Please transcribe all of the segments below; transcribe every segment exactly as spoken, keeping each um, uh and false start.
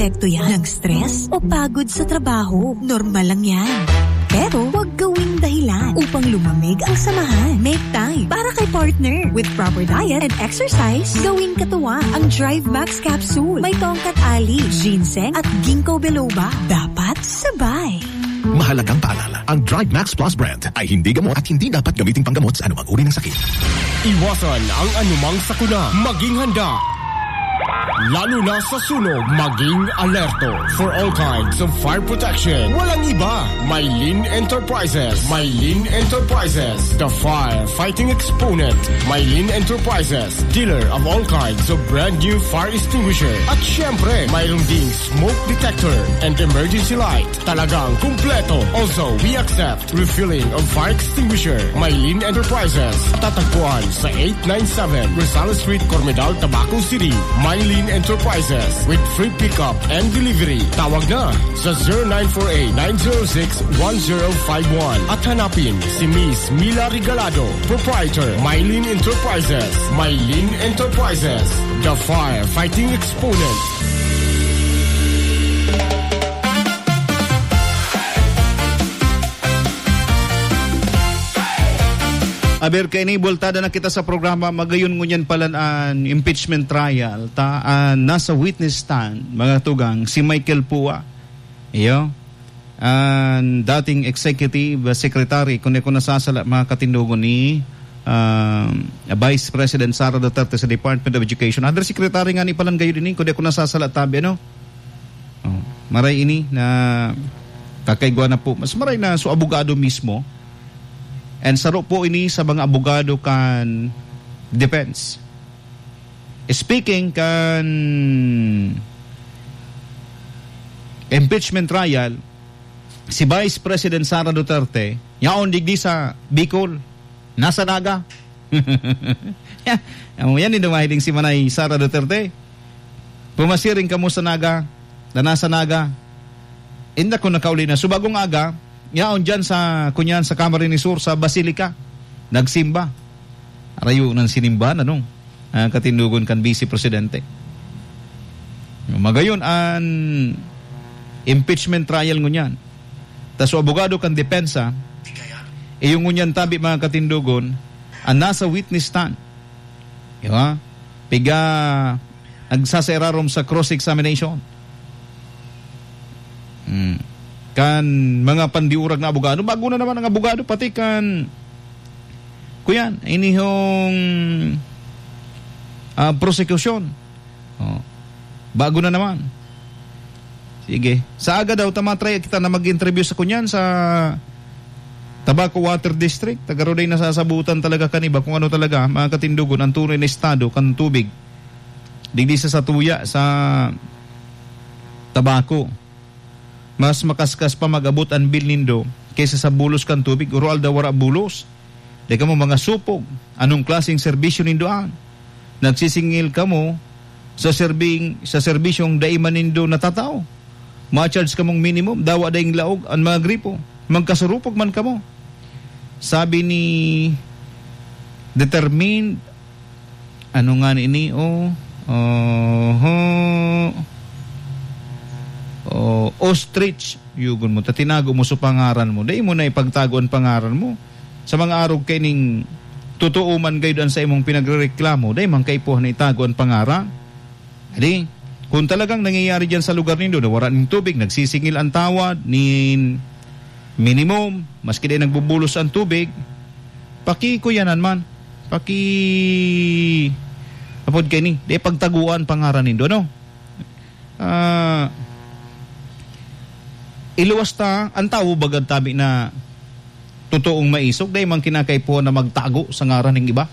Epekto yan ng stress o pagod sa trabaho. Normal lang yan. Pero huwag gawing dahilan upang lumamig ang samahan. Make time para kay partner with proper diet and exercise. Gawing katuwang ang Drive Max Capsule. May tongkat ali, ginseng at ginkgo biloba. Dapat sabay. Mahalagang paalala, ang Drive Max Plus brand ay hindi gamot at hindi dapat gamiting panggamot sa anumang uri ng sakit. Iwasan ang anumang sakuna. Maging handa. Lalo na sa sunog, maging alerto. For all kinds of fire protection, walang iba. Mylene Enterprises. Mylene Enterprises. The fire fighting exponent. Mylene Enterprises. Dealer of all kinds of brand new fire extinguisher. At syempre, mayroon ding smoke detector and emergency light. Talagang kumpleto. Also, we accept refilling of fire extinguisher. Mylene Enterprises. Tatagpuan sa eight nine seven Rosales Street, Cormedal, Tabaco City. Mylene Enterprises with free pickup and delivery. Tawag na sa zero nine four eight, nine zero six, one zero five one at hanapin si Miss Mila Regalado, proprietor, Mylene Enterprises. Mylene Enterprises, the firefighting exponent. Aber, kaini, bultada na kita sa programa, magayon ngunyan pala an impeachment trial, ta, ah, nasa witness stand, mga tugang, si Michael Pua. Iyo. An dating executive secretary, kun di ako nasasala, mga katindogon, ni, ah, Vice President Sara Duterte sa Department of Education. Undersecretary ngani pala gayon ini, kun di ako nasasala, tabi, ano? Oh, maray ini na kakaigwa na po. Mas maray na so abogado mismo. And saro po ini sa mga abogado kan defense. Speaking kan impeachment trial, si Vice President Sara Duterte, yaon digdi sa Bicol, nasa Naga. Amo yan, indo mahiling si Manay Sara Duterte. Pumasiring kamo sa Naga, na nasa Naga. Inda ko nakauli na. So, bagong aga, yaon dyan sa, kunyan, sa Camarines Sur, sa Basilica. Nagsimba. Arayo ng sinimbahan, ano? Ah, katindogon kan Vice Presidente. Magayon, an impeachment trial ngunyan. Ta so abogado kan depensa, iyo ngunyan tabi, mga katindogon, an nasa witness stand. Di ba? Piga nagsasairarom sa cross-examination. Hmm. Kan mga pandiurag na abogado, bago na naman ang abogado, pati kan, kuyan, inihong, ah, prosekusyon. Oh. Bago na naman. Sige. Sa aga daw, tamatry kita na mag-interview sa kunyan sa Tabaco Water District. Tagaroday nasasabutan talaga kan iba kung ano talaga, mga katindogon, ang tunay na estado kan tubig. Digdi sa satuya, sa Tabaco. Mas makaskas pa mag-abot an bill nindo kaysa sa bulos kan tubig. Uro aldaw wara bulos. Di kamo mga supog. Anong klaseng serbisyo nindo an? Nagsisingil kamo sa serbing-, sa serbisyong dai man nindo natatao. Ma-charge kamong minimum, dawa daing laog an mga gripo. Magkasurupog man kamo. Sabi ni determined, ano nga ni ini, oh, oho, oh, ostrich, yugon mo, ta tinago mo sa pangaran mo. Dai mo na ipagtago an pangaran mo. Sa mga arog kaining totoo man gayud an sa imong pinagrereklamo, dai man kaipuhan na itago an pangaran. Adi, kung talagang nangyayari diyan sa lugar nindo na wara nin tubig, nagsisingil an tawad nin minimum, maski dai nagbubulos an tubig, pakikuyanan man, paki-, apod kaini, dai pagtaguan pangaran nindo, no? Ah, iluwas ta, an tawo bagad tabi na totoong maisog, dai man kinakaipuhan na magtago sa ngaran ning iba.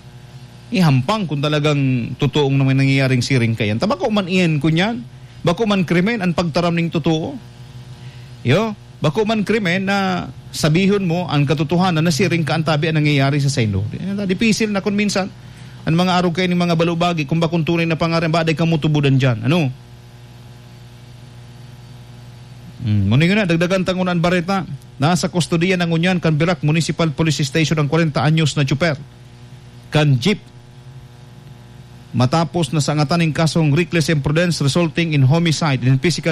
Ihampang kung talagang totoong naman nangyayaring siring kayan. Ta bako man iyan kunyan, bako man krimen an pagtaram ning totoo. Yo, bako man krimen na sabihon mo an katotohanan na siring ka an tabi an nangyayari sa saindo. Di, dipisil na kun minsan, an mga arog kaini mga balubagi, kung bakong tunay na pangaran, ba, dai kamo tubudan diyan. Ano? Hmm, muna yun na, dagdagan ta ngunyan an bareta. Nasa kustodiya na ngunyan kan Virac Municipal Police Station ang kwarenta anyos na tsuper kan jeep. Matapos na sangatan ning kasong reckless imprudence resulting in homicide and physical